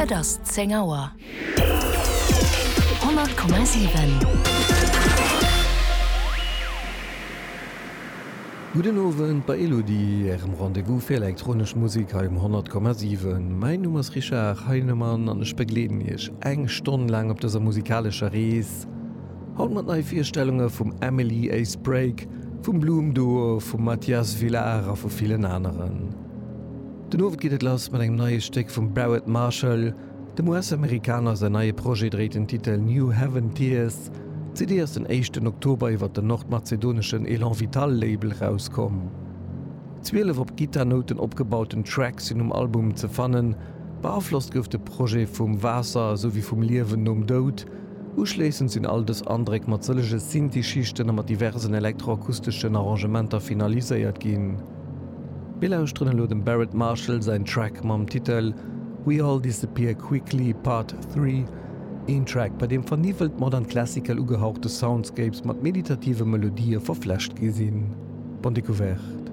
Et ass 10 Auer. 100,7. Gudden Owend bei Elodie, Ärem Rendez-vous fir elektronesch Musek hei um 100,7. Mäin Numm ass Richard Heinemann an ech begleeden Iech eng Stonn laang op dëser musikalescher Rees. Haut mat neie Virstellunge vum Emily A. Sprague, vum Bloom Duo, vum Mathias Villard a vu villen aneren. Den Owend geet et lass mat engem neie Stéck vum Barrett Marshall. Dem US-Amerikaner säin neie Projet dréit den Titel New Heaven Tears. D'CD ass den éischten Oktober iwwer den nordmazedoneschen Elan Vital Label rauskomm. 12 op Gittarnouten opgebauten Tracks sinn um Album ze fannen. Beaflosst gouf de Projet vum Waasser esou wéi vum Liewen nom Doud. Uschléissend sinn all dës Andréck mat sëllege Synthi-Schichten a mat diversen elektroakusteschen Arrangementer finaliséiert ginn. Mir lauschteren elo dem Barrett Marshall säin Track mam Titel We All Disappear Quickly Part 3, een Track bei deem verniwwelt modern classical ugehauchte Soundscapes mat meditative Melodië verflecht gi sinn. Bonne Découverte.